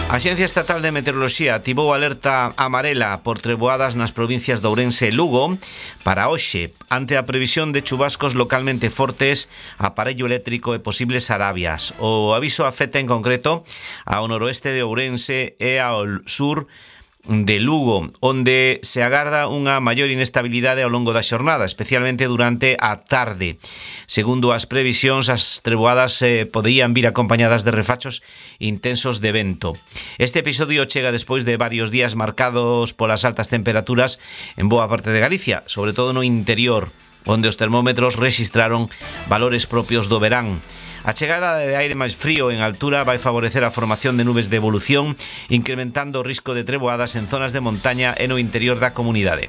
A Axencia Estatal de Meteoroloxía activou alerta amarela por treboadas nas provincias de Ourense e Lugo para hoxe, ante a previsión de chubascos localmente fortes, aparello eléctrico e posibles arabias. O aviso afecta en concreto ao noroeste de Ourense e ao sur de Lugo, onde se agarda unha maior inestabilidade ao longo da xornada, especialmente durante a tarde. Segundo as previsións, as treboadas poderían vir acompañadas de refachos intensos de vento. Este episodio chega despois de varios días marcados polas altas temperaturas en boa parte de Galicia, sobre todo no interior, onde os termómetros rexistraron valores propios do verán. A chegada de aire máis frío en altura vai favorecer a formación de nubes de evolución, incrementando o risco de treboadas en zonas de montaña e no interior da comunidade.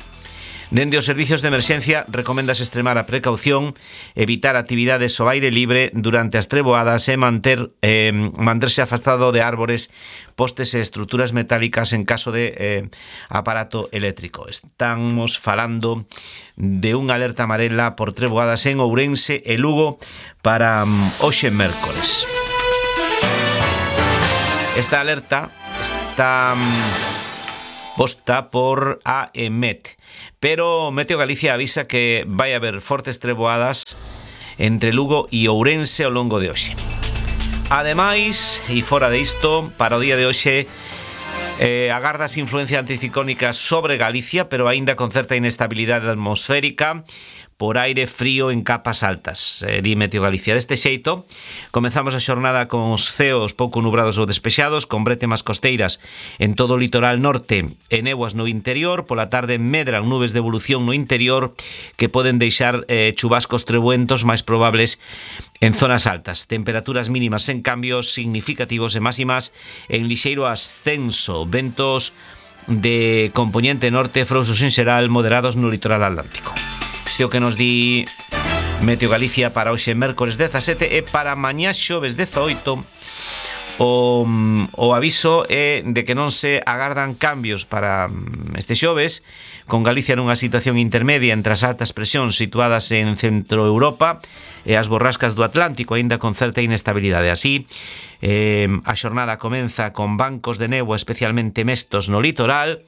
Dende os servicios de emerxencia, recoméndase extremar a precaución, evitar actividades ao aire libre durante as treboadas e manterse afastado de árbores, postes e estruturas metálicas en caso de aparato eléctrico. Estamos falando de unha alerta amarela por treboadas en Ourense e Lugo para hoxe mércores. Esta alerta está posta por a EMET, pero Meteo Galicia avisa que vai haber fortes treboadas entre Lugo e Ourense ao longo de hoxe. Ademais, e fora de isto, para o día de hoxe agardas influencia anticiclónica sobre Galicia, pero aínda con certa inestabilidade atmosférica por aire frío en capas altas, di Meteo Galicia. Deste xeito, comenzamos a xornada con os ceos pouco nubrados ou despexados, con brétemas costeiras en todo o litoral norte e néboas no interior. Pola tarde medran nubes de evolución no interior que poden deixar chubascos trebuentos máis probables en zonas altas. Temperaturas mínimas en cambios significativos e máximas en lixeiro ascenso. Ventos de compoñente norte, frouxos en xeral, moderados no litoral atlántico. Isto que nos di Meteo Galicia para hoxe mércores 17 e para mañá xoves 18 o aviso é de que non se agardan cambios para este xoves, con Galicia nunha situación intermedia entre as altas presións situadas en Centro Europa e as borrascas do Atlántico, aínda con certa inestabilidade. Así, a xornada comeza con bancos de néboa especialmente mestos no litoral.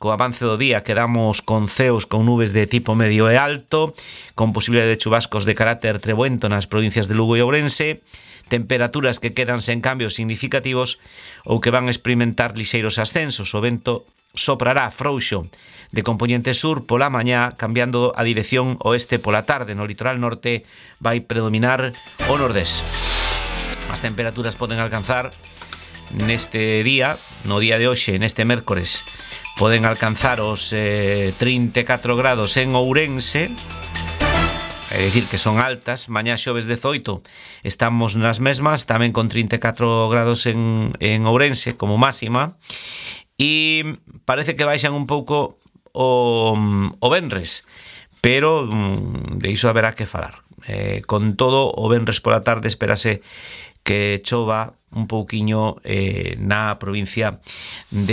Co avance do día quedamos con ceos con nubes de tipo medio e alto, con posibilidade de chubascos de carácter treboento nas provincias de Lugo e Ourense, temperaturas que quedan sen cambios significativos ou que van experimentar lixeiros ascensos. O vento soprará frouxo de compoñente sur pola mañá, cambiando a dirección oeste pola tarde. No litoral norte vai predominar o nordés. As temperaturas poden alcanzar neste día, no día de hoxe, neste mércores, poden alcanzar os 34 grados en Ourense, é dicir que son altas. Mañá xoves 18 estamos nas mesmas, tamén con 34 grados en Ourense como máxima, e parece que baixan un pouco o venres, pero de iso haberá que falar. Con todo, o venres pola tarde espérase que chova un pouquiño na provincia de